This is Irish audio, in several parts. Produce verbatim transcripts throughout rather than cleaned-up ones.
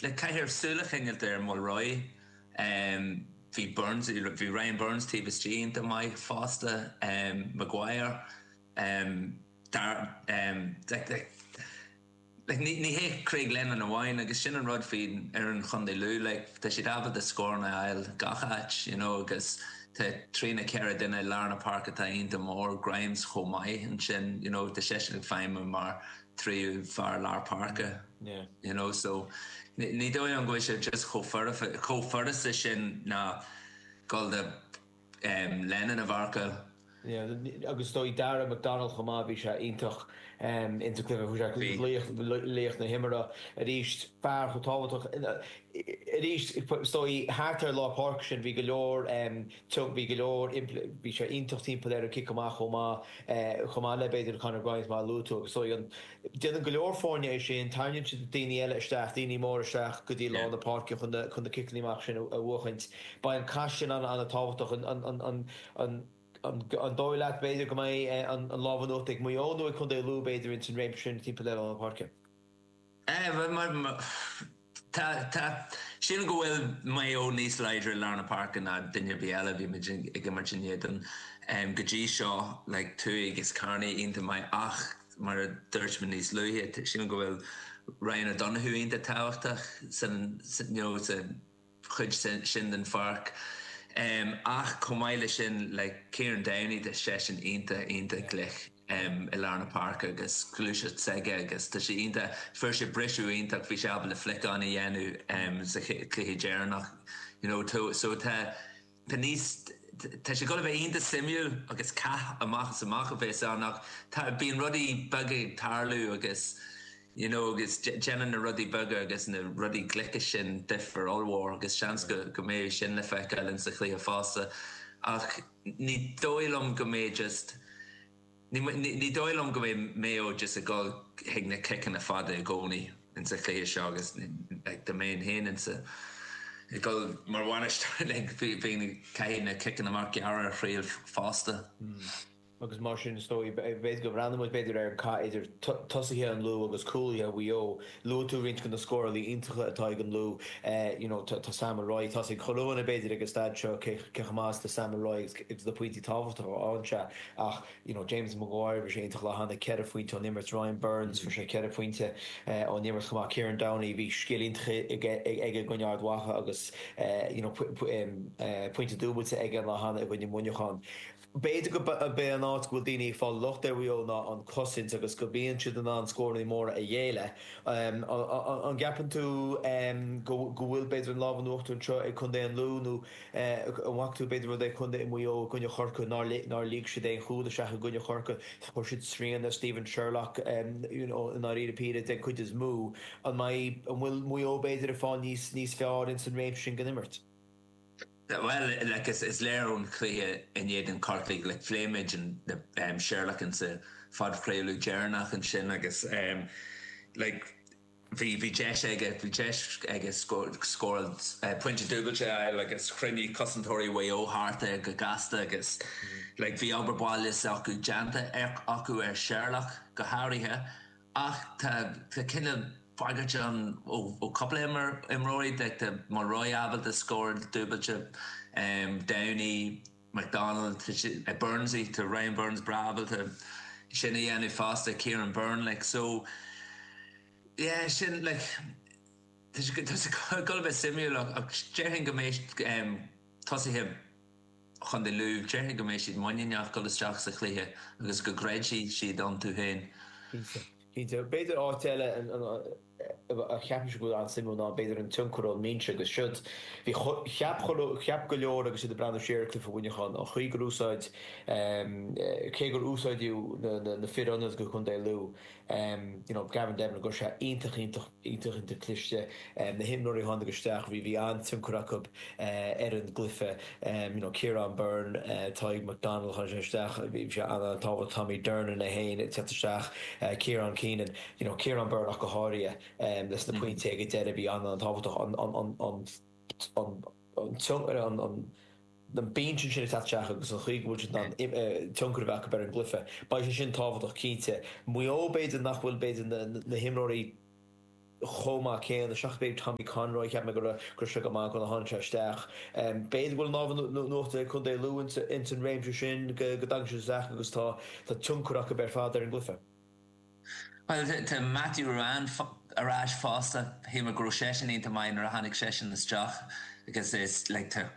Like caithfear súil a choinneáilt ar Mulroy. Um, bhí Burns bhí Ryan Burns taobh istigh iontach maith fosta um, Maguire um, dar, um, like, like, like, ní, ní hé Craig Lennon amháin agus sin an rud faoi ar an Chontae Lú like, tá siad ábalta scóranna a fháil gach áit you know, agus tá trí nó ceithre duine lár na páirce atá iontach mór Grimes chomh maith ansin you know, tá seisean ag feidhmiú mar tríú fear lár páirce. Yeah. You know, so ní ní dóigh liom go bhfuil sé just chomh foirfe chomh furasta sin ná dul do um, Lennon a mharcáil. Yeah, agus dóigh Dara McDonald chomh maith bhí sé iontach um, insa chluiche bhí sé Bhí. laoch laoch na himeartha arís fear chomh tábhachtach arís dóigh thart ar lár páirce sin bhí go leor um, tug bhí go leor impl- bhí sé iontach timpeall ar an cic amach chomh maith eh, chomh maith le b'fhéidir Conor Grimes mar luaigh tú agus dóigh an déanann go leor foirne é sin tarraingíonn siad daoine eile isteach daoine mór isteach go dtí lár Yeah. na páirce chun na chun na ciceanna amach sin a a bhuachaint. Beidh an cath sin an an-tábhachtach an an an an an an an dóigh leat b'fhéidir go mbeidh eh, an an lámh in uachtar ag Maigh Eo nó ag Contae Lú b'fhéidir in san réimse sin timpeall ar lár na páirce. Eh, well, mar, mar, tá tá sin go bhfuil Maigh Eo níos láidre lár na páirce ná duine ar bith eile bhí muid ag imirt in éadan um, go dtí seo like, Tuaigh agus Carney iontach maith ach mar a dúirt mé níos luaithe sin go bhfuil Ryan O'Donoghue iontach tábhachtach san, san, you know, sa chuid sin, sin den pháirc. Um, ach chomh maith leis sin like, Kieran Downey tá seisean iontach iontach glic um, i lár na páirce agus gluaiseacht s'aige agus tá sé iontach fuair sé briseadh iontach bhí sé ábalta flick-on a dhéanamh um, sa chluiche deireanach you know, to, so tá tá níos tá sé go bheith iontach suimiúil agus cath amach is amach a bheas ann ach tá bíonn rudaí beaga ag tarlú agus you know, agus déanann na rudaí beaga agus na rudaí glice sin difear ollmhór agus seans go go mbeidh sin le feiceáil in sa chluiche fosta ach ní dóigh liom go mbeidh just ní, ní, ní dóigh liom go mbeidh Maigh Eo just ag dul chuig na ciceanna fada i gcónaí in sa chluiche seo agus like, dá mbeinn féin in sa ag dul mar bhainisteoir like, bhí bhí caithfidh na ciceanna amach gearra a thriail fosta. Agus mar sin is dóigh b'fhéidir go mbreathnóidh muid b'fhéidir ar an cath idir tosaithe an Lú agus cúlaithe Mhaigh Eo. Luaigh tú roinnt de na scórálaithe iontacha atá ag an Lú you know, tá Sam Mulroy tá ag chuile b'fhéidir ag an staid seo cé chomh maith is Sam Mulroy agus na pointí tábhachtacha a fhaigheann sé ach you know, James Maguire bhí sé iontach le hana ceithre phointe ón imirt Ryan Burns fuair sé ceithre phointe ón imirt chomh maith Kieran Downey bhí scil iontach aige i gcoinne Ard Mhacha agus you know, pointe dúbailte aige le hana i gcoinne Muineachán. B'fhéidir go b'é an áit go bhfuil daoine ag fáil locht ar Mhaigh Eo ná an cosaint agus go mbíonn siad in ann scóranna móra a ghéilleadh. An gceapann tú go bhfuil b'fhéidir an lámh in uachtar anseo ag Contae an Lú nó an bhfaca tú b'fhéidir rud é Contae Mhaigh Eo i gcoinne Chorcaí nár nár lig siad aon chúl isteach i gcoinne Chorcaí chuir siad srian ar Stephen Sherlock you know, i ndáiríre píre den chuid is mó an mbeidh an bhfuil Maigh Eo b'fhéidir ag fáil níos níos fearr in san réimse sin den imirt. Well, like, is, is léir ón chluiche in éadan Corcaigh like, phléigh muid an um, Sherlock in sa phodchraoladh deireanach ansin agus um, like, bhí bhí deis aige bhí deis aige scóráil uh, pointe dúbailte a fháil agus chruinnigh cosantóirí Mhaigh Eo thart é go gasta agus like, bhí obair baile acu déanta acu ar Sherlock go háirithe ach tá tá cineál bagairt an ó ó cúpla imreoirí like, tá Mulroy ábalta scór dúbailte um, Downey McDonald uh, Burnsy tá Ryan Burns breá ábalta sin a dhéanamh fosta Kieran Byrne like so yeah sin like tá sé go bheith suimiúil ach déarfainn go mbeidh um, tosaithe Chontae Lú déarfainn go mbeidh siad muiníneach dul isteach sa chluiche agus go gcreidfidh siad iontu féin. Cinnte b'fhéidir áit eile a cheapaim go bhfuil an-suimiúil ná b'fhéidir an tionchar ón mbinse agus siúd bhí cheap cheap go leor agus iad ag breathnú siar ar chluiche Mhuineacháin an chaoi gur úsáid cé gur úsáideadh na fir ionaid go Contae Lú you know, Gavin Devlin go sé iontach iontach iontach iontach cliste na himreoirí a tháinig isteach bhí bhí an-tionchar acu ar an gcluiche you know, Kieran Byrne Tadhg McDonald tháinig sé isteach bhí sé an-tábhachtach Tommy Durnin é féin ag teacht isteach Kieran Keenan you know, Kieran Byrne ach go háirithe leis na pointí ag deireadh bhí an-tábhachtach an an an an an an an an binse sin isteach agus an chaoi go bhfuil siad in ann tionchar a bheith acu ar an gcluiche. Beidh sé sin tábhachtach cinnte. Maigh Eo b'fhéidir nach bhfuil b'fhéidir na, na himreoirí chomh maith céanna, seachas b'fhéidir Tommy Conroy, cheap mé go raibh go raibh sé go maith nuair a tháinig sé isteach. B'fhéidir go bhfuil an lámh in uachtar ag Contae Lú ins an réimse sin, go dtagann siad isteach agus tá tá tionchar acu ar fad ar an gcluiche. Bhuel, tá Matthew Ruane ar ais fosta. Shíl mé go raibh seisean iontach maith nuair a tháinig seisean isteach agus is like tá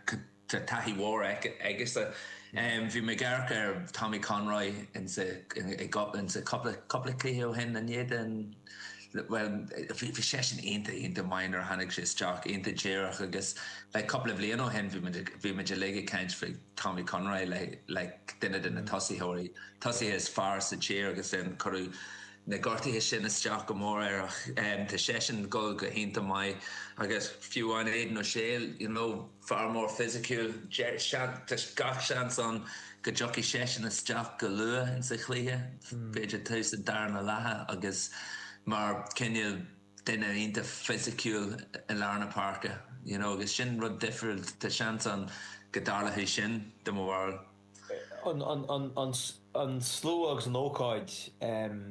tá taithí mhór aigesean. Bhí mé ag amharc ar Tommy Conroy insa insa cúpla cúpla cluiche ó shin in éadan bhuel bhí bhí seisean iontach iontach maith nuair a tháinig sé isteach, iontach díreach agus like cúpla bhliain ó shin bhí muid bhí muid uilig ag caint faoi Tommy Conroy like like duine de na tosaitheoirí tosaithe is fearr sa tír agus then cuireadh na gortuithe sin isteach go mór air ach tá seisean ag dul go hiontach maith agus fiú amháin Aidan O'Shea you know fear mór fisiciúil tá gach seans ann go dtiocfaidh seisean isteach go luath insa chluiche, b'fhéidir tús an darna leatha agus mar cineál duine iontach fisiciúil i lár na páirce you know agus sin rud difriúil, tá seans ann go dtarlóidh sin de mo bharúil. An slua agus an ócáid,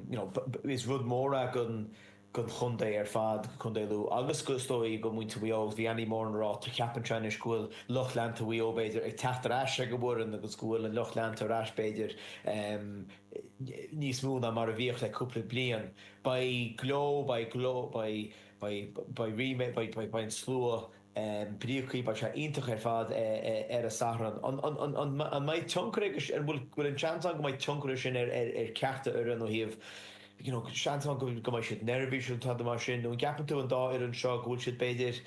you know, is rud mór é don chontae ar fad, do Chontae Lú agus go is dóigh do mhuintir Mhaigh Eo. Bhí Andy Moran ag rá, ceapann sé anois go bhfuil lucht leanta Mhaigh Eo b'fhéidir ag teacht ar ais ag an bhfoireann agus go bhfuil an lucht leanta ar ais b'fhéidir níos mó ná mar a bhíodh le cúpla bliain. Beidh gleo, beidh gleo, beidh, beidh, beidh ríméad, beidh, beidh an slua brící, beidh sé iontach ar fad ar an Satharn. An mbeidh tionchar aige, an bhfuil an seans ann go mbeidh tionchar aige sin ar cheachtar fhoireann ó thaobh, you know, seans ann go mbeidh siad neirbhíseach nó tada mar sin, nó an gceapann tú an dá fhoireann seo go bhfuil siad b'fhéidir,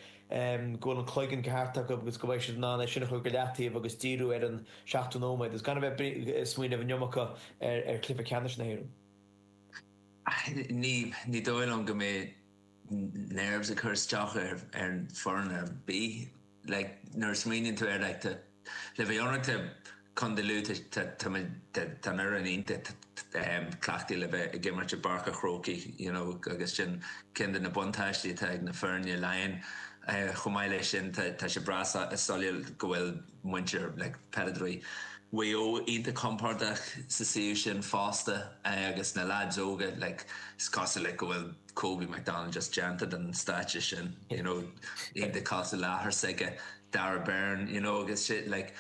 go bhfuil an cloigeann ceart acu agus go mbeidh siad in ann é sin a chur go leataobh agus díriú ar an seachtó nóiméad agus gan a bheith ag smaoineamh an iomarca ar chluiche ceannais na hÉireann? Ní, ní dóigh liom go mbeidh nerves ag cur isteach ar ar an foireann ar bith. Like nuair a smaoiníonn tú air like tá le bheith ionraic tá Contae Lú tá tá tá tá an fhoireann iontach cleachtaithe le bheith ag imirt i bPáirc an Chrócaigh you know agus sin ceann de na buntáistí atá ag na foirne Laighean. Chomh maith leis sin tá tá sé breá soiléir go bhfuil muintir like peileadóirí Mhaigh Eo iontach compordach sa suíomh sin fosta agus na lads óga like is cosúil like go bhfuil Kobe McDonald just déanta den stáitse sin you know iontach cosúil le athair s'aige Darragh Beirne you know agus shit like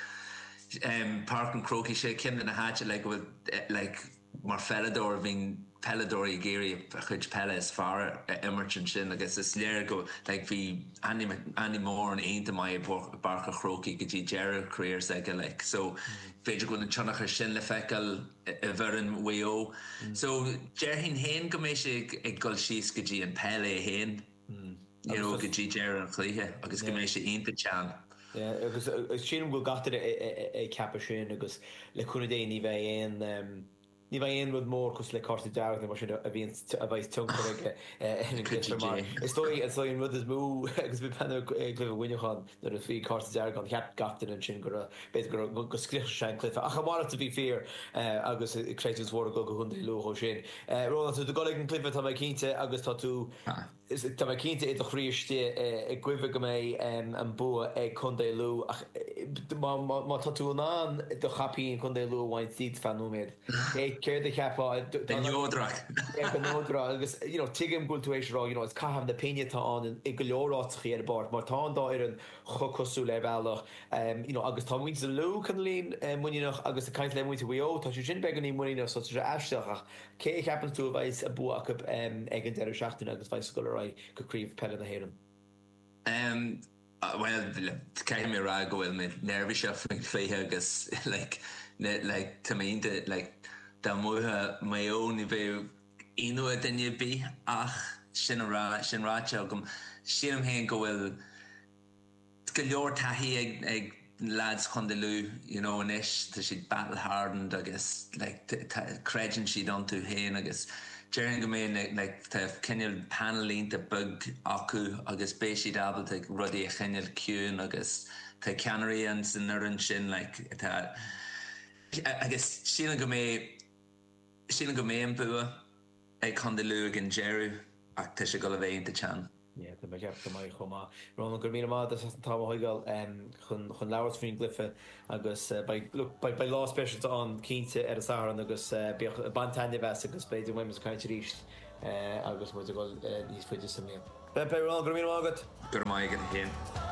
um Páirc an Chrócaigh sé ceann de na háite like go bhfuil like mar pheileadóir bhíonn peileadóirí ag iarraidh a chuid peile is fearr a imirt ansin agus is léir go like bhí Andy Andy Moran iontach maith i bPáirc an Chrócaigh go dtí deireadh career s'aige like so b'fhéidir go bhfuil an tionchar sin le feiceáil i bhfoireann Mhaigh Eo. So déarfainn féin go mbeidh sé ag dul síos go dtí an peil é féin you know go dtí deireadh an chluiche agus go mbeidh sé iontach teann. Yeah agus sílim go bhfuil gach duine ag ceapadh sin agus le cúnamh Dé ní bheidh aon Ní bheidh aon rud mór cosúil le cárta dearg nó mar sin a bhíonn a bheidh tionchar aige ar an gcluiche mar is dóigh is dóigh an rud is mó agus bhí peann ar gcluiche Mhuineacháin nuair a bhí cárta dearg ann cheap gach duine ansin go raibh b'fhéidir go raibh go scriosfadh sé an cluiche ach a mhalairt a bhí fíor agus creidiúint mhór ag dul go Chontae Lú ó sin. Rónán tá tú ag dul ag an gcluiche tá mé cinnte agus tá tú Tá mé cinnte i do chroí istigh ag guí go mbeidh an bua ag Contae Lú ach má tá tú in ann do chaipín Contae Lú a bhaint díot feadh nóiméad, céard a cheapfá? Go neodrach. Go neodrach agus you know tuigim go bhfuil tú éis a rá you know is caitheamh na pinge atá ann i go leor áiteachaí ar an bpáirc mar tá an dá fhoireann chomh cosúil ar bhealach you know agus tá muintir Lú cineáilín muiníneach agus ag caint le muintir Mhaigh Eo tá siad sin beagáinín muiníneach so tá sé aisteach ach Cé a cheapann tú a bheidh an bua acu ag an deireadh seachtaine agus bheidh ag dul ar aghaidh go Craobh Peile na hÉireann? Bhuel, caithfidh mé a rá go bhfuil mé neirbhíseach faoin chluiche agus like like tá mé iontach like dá mbuafadh Maigh Eo ní bheadh ionadh ar duine ar bith ach sin a rá sin ráite agam sílim féin go bhfuil go leor taithí ag ag lads Chontae Lú you know anois tá siad battle hardened agus like creideann siad iontu féin agus déarfainn go mbeidh na like tá cineál panel iontach beag acu agus beidh siad ábalta rudaí a choinneáil ciúin agus tá ceannairí ann san fhoireann sin like tá agus sílim go mbeidh sílim go mbeidh an bua ag Contae Lú ag an deireadh ach tá sé ag dul a bheith iontach teann. Yeah, tá mé ag ceapadh go mbeidh chomh maith. Rónán, go raibh míle maith agat as an t-am a thógáil chun chun labhairt faoin gcluiche agus beidh, look, beidh, beidh lá speisialta ann cinnte ar an Satharn agus bíodh, bain taitneamh as agus b'fhéidir go mbeidh muid ag caint arís agus muid ag dul níos faide sa mbliain. Beidh, go raibh míle maith agat. Go raibh maith agat féin.